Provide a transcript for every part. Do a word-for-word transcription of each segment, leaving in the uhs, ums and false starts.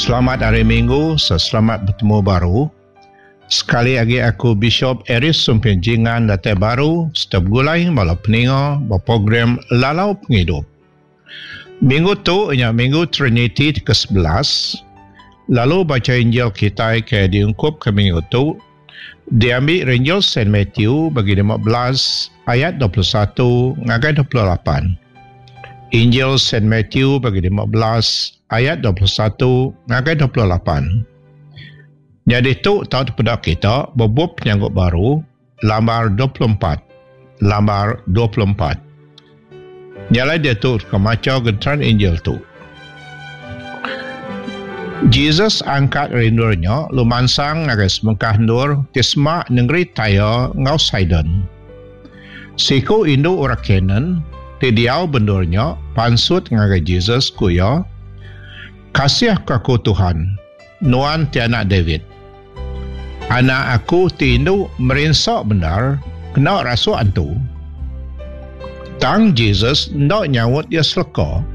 Selamat hari Minggu, selamat betemu baru. Sekali lagi aku Bishop Aris Sumpin Jingan datai baru serta begulai bala peninga ba program Lalau Pengidup. Minggu tu nya Minggu Trinity ke sebelas, lalu baca Injil kitai ke diungkup ke minggu tu diambil Injil Saint Matthew bagi lima belas ayat dua puluh satu ngagai dua puluh lapan. Injil Saint Matthew bagi lima belas ayat dua puluh satu ngagai dua puluh lapan. Jadi tu tau tepedak kita bebup penyanggup baru lambar dua puluh empat. Lambar dua puluh empat. Nyalai dia tu ke maca genteran Injil tu. Jesus angkat rindurnya lumansang ngagai semengkah ndur ti semak negeri Tyre ngau Sidon. Siku indu orang Canaan ti diau bendurnya pansut ngagai Jesus ku iya, kasih ke aku Tuhan, nuan ti anak David. Anak aku ti indu merinsa bendar kena rasuk antu. Tang Jesus ndak nyaut dia seleka.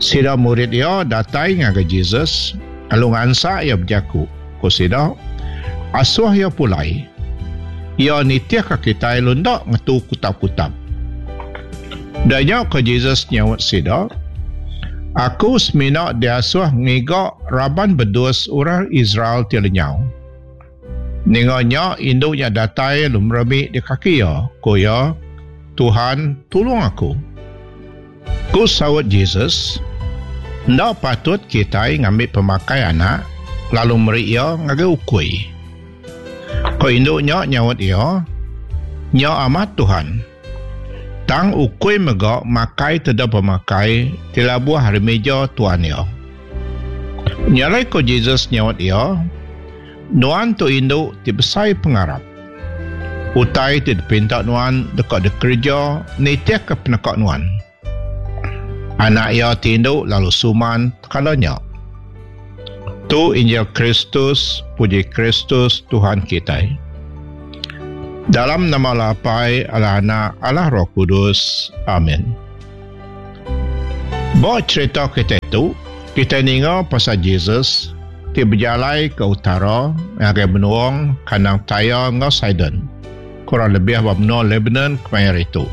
Sida murid dia datai ngagai Jesus lalu ngansak ia berjaku. Ku sida, asuh ia pulai. Ia nitih ke kitai lalu ndak ngetu kutap-kutap. Danya ke Jesus nyaut sida, aku semina diasuh ngiga raban bedus orang Israel ti lenyau. Ninganya indunya datai lalu meremik di kaki ia. Ku ia, Tuhan tolong aku. Ku saut Jesus, ndak patut kitai ngambil pemakai anak lalu meri ia ngagai ukui. Ku indunya nyaut ia, nya amat Tuhan. Tang ukui mega makai teda pemakai ti labuh hari meja tuan ia. Nyalai ko Jesus nyaut ia, nuan tu indu ti besai pengarap. Utai ti dipinta nuan dekat dikerja nitih ke penekak nuan. Anak ia ti indu lalu suman tekalanya. Tu Injil Kristus, puji Kristus Tuhan kitai. Dalam nama Allah Apai, Allah Anak, Allah Roh Kudus. Amin. Bawa cerita kita itu, kita ninga pasal Jesus ti berjalai ke utara ngagai menuang kandang Tyre ngau Sidon. Kurang lebih ba menua Lebanon kemaya itu.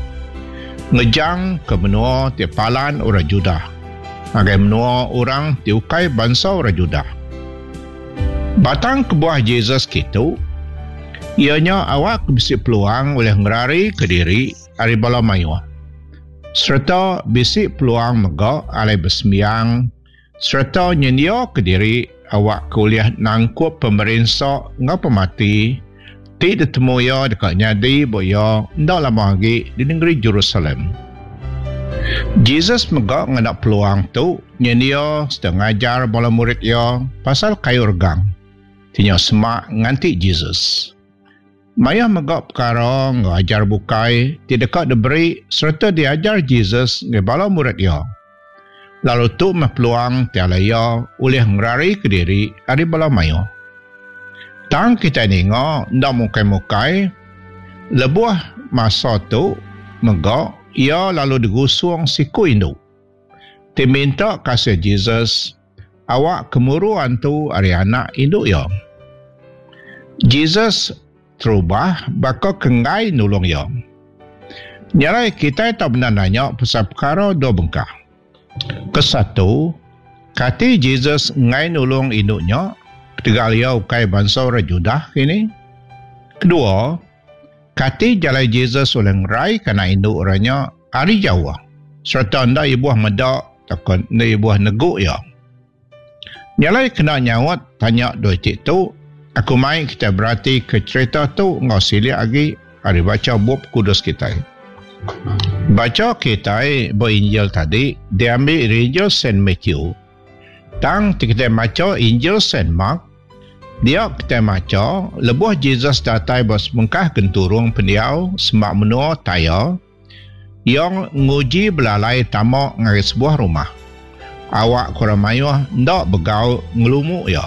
Ngejang ke menua ti palan orang Judah. Ngagai menua orang ti ukai bangsa orang Judah. Batang kebuah Jesus kitu, ianya awak bisi peluang oleh ngerari ke diri ari bala mayuh. Serta bisi peluang mega alai bersembiang serta nyendia ke diri awak kuliah nangkup pemerinsa ngau pemati ti ditemu ia dekat nyadi bo ia ndak lama lagi di negeri Jerusalem. Jesus mega ngena peluang tu nyendia serta ngajar bala murid ia pasal kayu regang. Tinya semak nganti Jesus. Maya mega perkara ngajar bukai ti dekat diberi serta diajar Jesus nge bala murid ia. Lalu tu meh peluang ti alai ia oleh ngerari ke diri ari bala mayo. Tang kita ninga ndak mukai-mukai lebuh masa tu mega ia lalu digusung siku indu. Ti minta kasih Jesus awak kemuru antu ari anak indu ia. Jesus terubah baka kenggai nulung ia. Nyarai kita tak benar nanya pasal perkara dua bengkah. Kesatu, kati Jesus ngai nulung induknya ketegal ia ukai bangsa orang Judah kini. Kedua, kati jalai Jesus oleh ngerai kana induk orangnya ari jauh serta ndak ibuh medak takon ndak ibuh neguk ia. Nyalai kena nyaut tanya dua itik tu, aku mai kita berarti ke cerita tu ngau silik lagi ari baca bup kudus kita. Baca kita bo Injil tadi diambil Injil Saint Matthew. Tang kita baca Injil Saint Mark, dia kita baca lebuh Jesus datai bos mengkah genturung pendiau semak menua Tyre yang nguji belalai tamak ngagai sebuah rumah. Awak kurang mayuh ndak begau ngelumuk ia.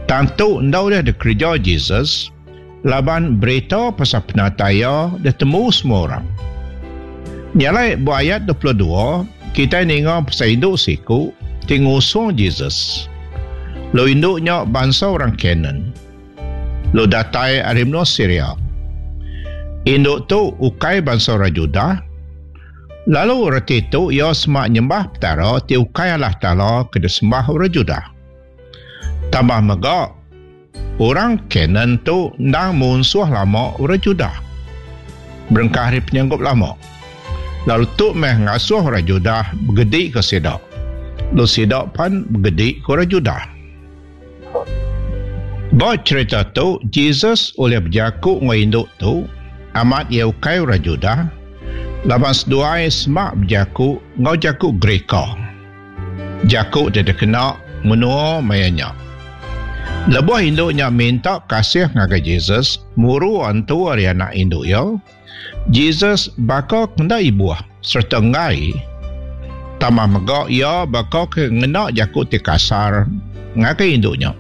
Tentu ndak dia dikerja Jesus laban berita pasal penataya dia temu semua orang. Nyalai bu ayat dua puluh dua kita ninga pasal induk siku ti ngusung Jesus. Lalu indu nya bansa orang Kanaan. Lalu datai ari menua Syria. Indu tu ukai bansa orang Judah. Lalu reti tu ia semak nyembah Petara ti ukai Allah Taala ke disembah orang Judah. Tambah mega, orang Kanaan tu endang munsuh lama orang Judah. Berengkah ari penyanggup lama. Lalu tu meh ngasuh orang Judah begedi ke sida. Lalu sida pan begedi ke orang Judah. Ba cerita tu, Jesus oleh berjaku dengan induk tu, amat ia ukai orang Judah, laban seduai semak berjaku ngau jaku Greka. Jaku dia dikena menua mayanya. Lebuh induknya minta kasih ngagai Jesus, muru antu ari anak induk ya. Jesus baka kena ibuh serta ngai. Tambah mega ia baka ke ngena jaku ti kasar ngagai induknya.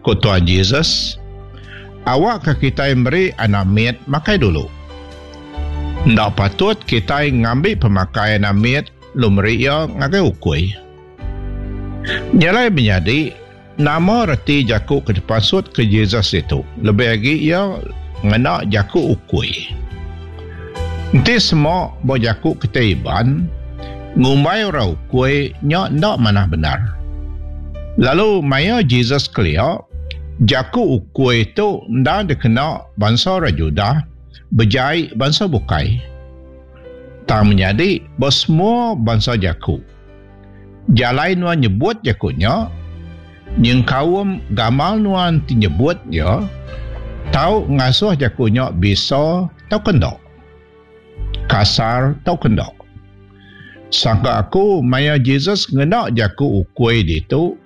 Ku Tuhan Jesus, awak ke kita meri anak mit makai dulu. Ndak patut kita ngambil pemakai anak mit lu meri ia ngagai ukui. Nyalai menjadi nama reti jaku ke dipasut ke Jesus itu. Lebih lagi ia ngena jaku ukui. Enti semua bo jaku kita iban ngumbai orang ukui nya ndak manah benar. Lalu maya Jesus kelia, jaku ukui itu ndak dikena bangsa orang Judah berjai bangsa bukai. Tang menjadi bo semua bangsa jaku. Jalai nuan nyebut jakunya, nyengkaum gamal nuan ti nyebut ya, tau ngasuh jakunya bisa tau kendok. Kasar tau kendok. Sangka aku maya Jesus ngena jaku ukui ditu,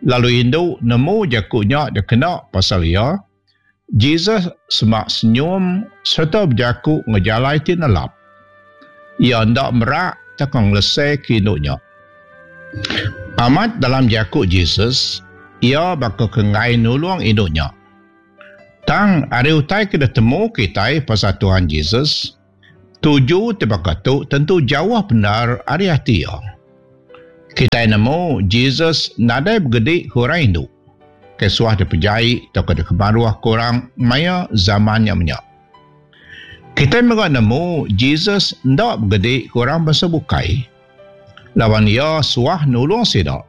lalu indu nemu jakunya dia kena pasal ia, Jesus semak senyum serta berjaku ngejalai ti nelap. Ia ndak merak takang lesai ke induknya. Amat dalam jaku Jesus, ia bakal kengai nulung induknya. Tang ari utai ke temu kita pasal Tuhan Jesus, tuju te baka tu tentu jauh benar ari hati ia. Kita nemu Jesus nadai bergedik ke orang induk. Kesuah dipejai atau ke dikemaruah ke orang maya zaman yang menyak. Kita mega nemu Jesus ndak bergedik ke orang bangsa bukai. Lawan ia suah nulung sida.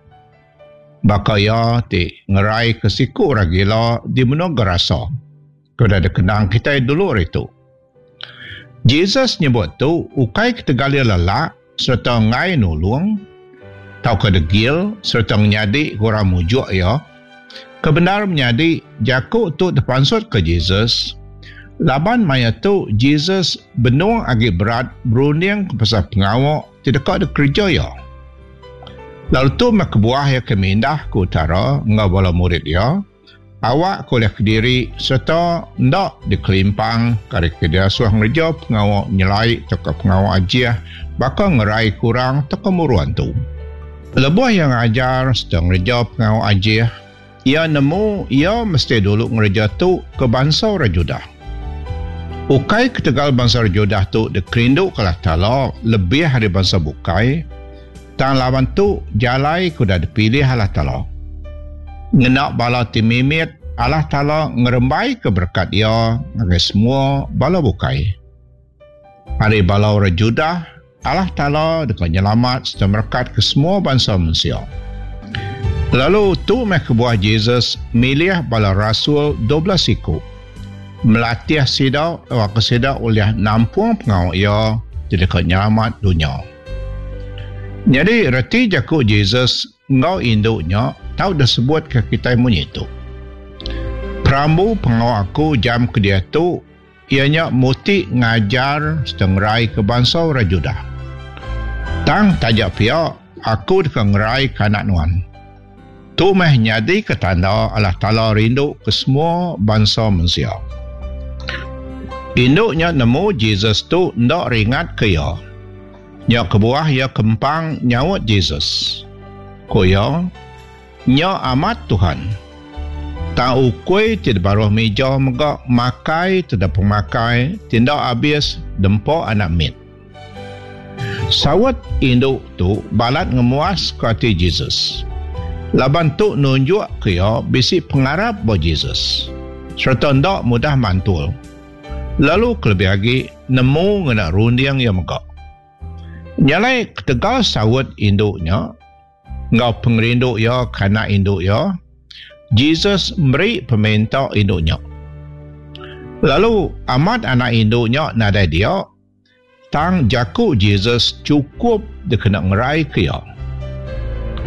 Baka ia ti ngerai ke siku orang gila di menua Gerasa. Kena dikenang kita dulu hari tu. Jesus nyebut tu ukai ketegal ia lelak serta ngai nulung tau ke degil serta menyadi orang mujuk ia. Kebenar menyadi jaku tu terpansut ke Jesus. Laban maya tu Jesus benung agi berat berunding ke pasal pengawak tidak ada kerja ya. Lalu tu mah kebuah ya kemindah ke utara ngau bala murid ya. Awak kuliah kediri serta ndak dikelimpang kari ke dia suah ngerja pengawak nyelai atau pengawak ajiah bakal ngerai kurang atau kemuruan tu. Lebuh yang ajar sedang ngerja pengawak ajiah, ia nemu ia mesti dulu ngerja tu ke bangsa orang Judah. Ukai ketegal bangsa Judah tu dikerindu ke Allah Taala lebih dari bangsa bukai, tang lawan tu jalai kuda dipilih Allah Taala. Ngenak bala timimit Allah Taala ngerembai ke berkat ia ngagai semua bala bukai. Hari bala orang Judah, Allah Taala dekat nyelamat serta berkat ke semua bangsa manusia. Lalu tu meh kebuah Jesus milih bala rasul dua belas iku. Melatih sida awak sida oleh nampung pengawak ia di dekat nyelamat dunia. Jadi reti jaku Jesus ngau induknya tau dah sebut ke kita munyi tu. Perambu pengawak aku jam ke dia tu ianya muti ngajar setengrai ke bangsa orang Judah. Tang tajak pia aku deka ngerai ke anak nuan. Tu meh nyadi ke tanda Allah Taala rindu ke semua bangsa manusia. Induknya nemu Jesus tu ndak ringat ke ia. Nya kebuah ia kempang nyaut Jesus. Ko ia, nya amat Tuhan. Tang ukui ti baruh meja mega makai tidak pemakai tindak habis dempo anak mit. Sawat induk tu balat ngemuas ke ati Jesus. Laban tu nunjuk ke ia bisi pengarap ba Jesus. Serta ndak mudah mantul. Lalu kelebih lagi nemu ngena runding ia mega. Nyalai ketegal sawat induknya ngau pengerindu ia kana induk ia, Jesus beri peminta induknya. Lalu amat anak induknya nadai dia, tang jaku Jesus cukup dikena ngerai ke ia.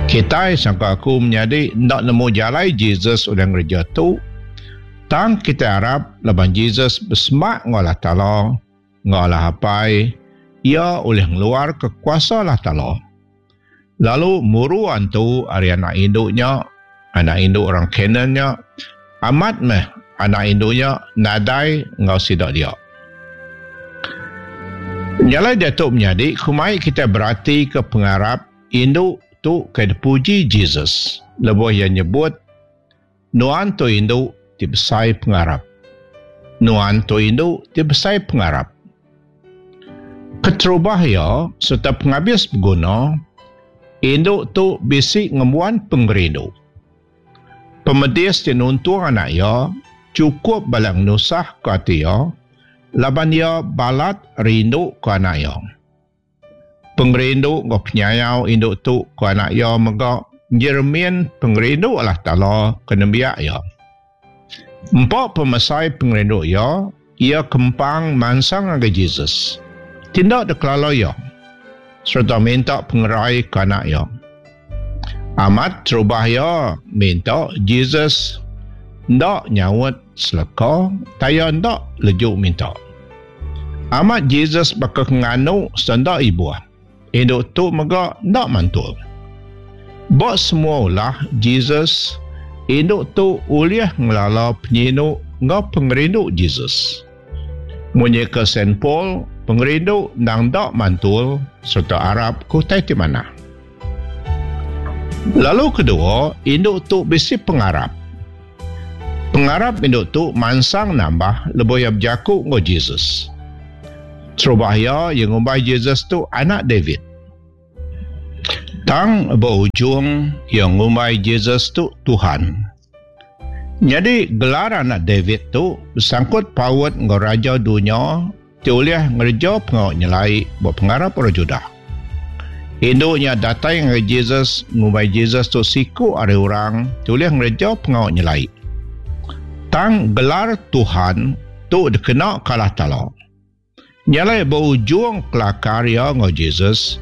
Kita sangka aku menjadi ndak nemu jalai Jesus udah ngereja tu, tang kita harap laban Jesus bersemak ngau Allah Taala, ngau Allah Apai, ia oleh ngeluar ke kuasa Allah Taala. Lalu muru antu ari anak induknya, anak induk orang Kanannya, amat meh anak induknya nadai ngau sidak dia. Nyalai datuk menjadi kumai kita berarti ke pengarap induk tu ke dipuji Jesus. Lebuh ia nyebut nuan tu induk ti besai pengarap. Nuan tu induk ti besai pengarap. Keterubah ia serta penghabis berguna, induk tu bisi ngemuan pengerindu. Pemedis ti nuntung anak ia cukup balak nusah ke ati ia, laban ia balat rindu ke anak ia. Pengerindu ngau penyayau induk tu ke anak ia mega jermin pengerindu Allah Taala ke nembiak ia. Empat pemesai pengerindu ia, ia kempang mansang ngagai Jesus. Tindak dekelala ia serta minta pengerai ke anak ia. Amat terubah ia minta Jesus ndak nyaut seleka, taya ndak lejuk minta. Amat Jesus bakal nganu sendak ibu. Induk tu mega ndak mantul. Bak semua ulah Jesus, induk tu uliah ngelala penyinu ngau pengerindu Jesus. Munyi ke Saint Paul, pengerindu nang dak mantul serta Arab kutai ti mana. Lalu kedua, induk tu bisi pengarap. Pengarap induk tu mansang nambah lebuh ia berjaku ngau Jesus. Terubah ia yang ngumbai Jesus tu anak David. Tang berujung yang ngumbai Jesus tu Tuhan. Jadi gelar anak David tu bersangkut paut ngau raja dunia ti ulih ngereja pengawak nyelai buat pengarap orang Judah. Induknya datang ngagai Jesus ngumbai Jesus tu siku ari orang ti ulih ngereja pengawak nyelai. Tang gelar Tuhan tu dikena kalah tala. Nyalai berujung kelakar ia ngau Jesus.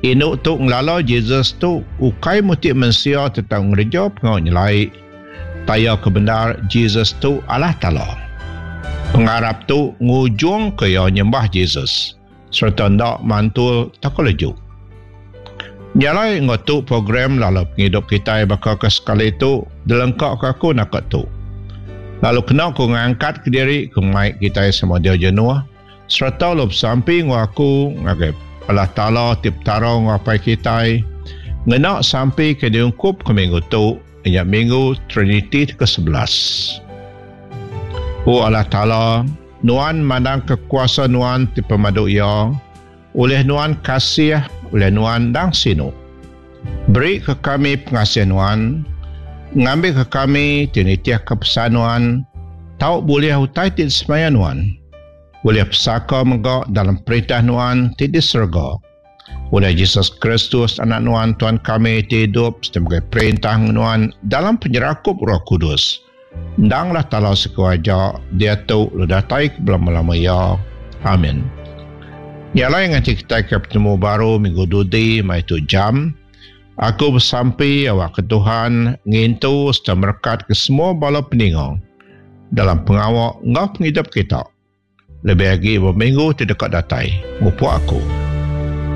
Induk tu ngelala Jesus tu ukai mutik mensia tentang ngereja pengawak nyelai. Taya kebenar Jesus tu Allah Taala. Pengarap tu ngujung ke ia nyembah Jesus serta ndak mantul tak lejuk. Nyalai ngotu program lalu penghidup kita bakal ke sekali tu dilengkap ke aku nak tu. Lalu kena ku ngangkat ke diri ku mai kita semua dia jenuh serta lup samping aku ngagai Allah Taala ti petara ngapai kita ngena sampai ke diungkup ke minggu tu ianya minggu Trinity ke sebelas. O Allah Taala, nuan mandang kekuasa nuan ti pemadu ia, oleh nuan kasih, oleh nuan dang sinu. Beri ke kami pengasih nuan, ngambil ke kami tinitiah ke pesan nuan, tau boleh utai ti semaya nuan. Boleh pesaka megak dalam perintah nuan ti di serga. Oleh Jesus Kristus anak nuan Tuhan kami ti hidup sebagai perintah nuan dalam penyerakup Roh Kudus. Ndanglah talau sekuaja dia tu lu datai ke belama-lama ya. Amin. Nyalai nganti kita ke bertemu baru minggu dudi mai tu jam. Aku bersampi awak ke Tuhan ngintu serta merekat ke semua bala peningang dalam pengawak ngau penghidup kita. Lebih lagi berminggu tidak datai. Ngupu aku.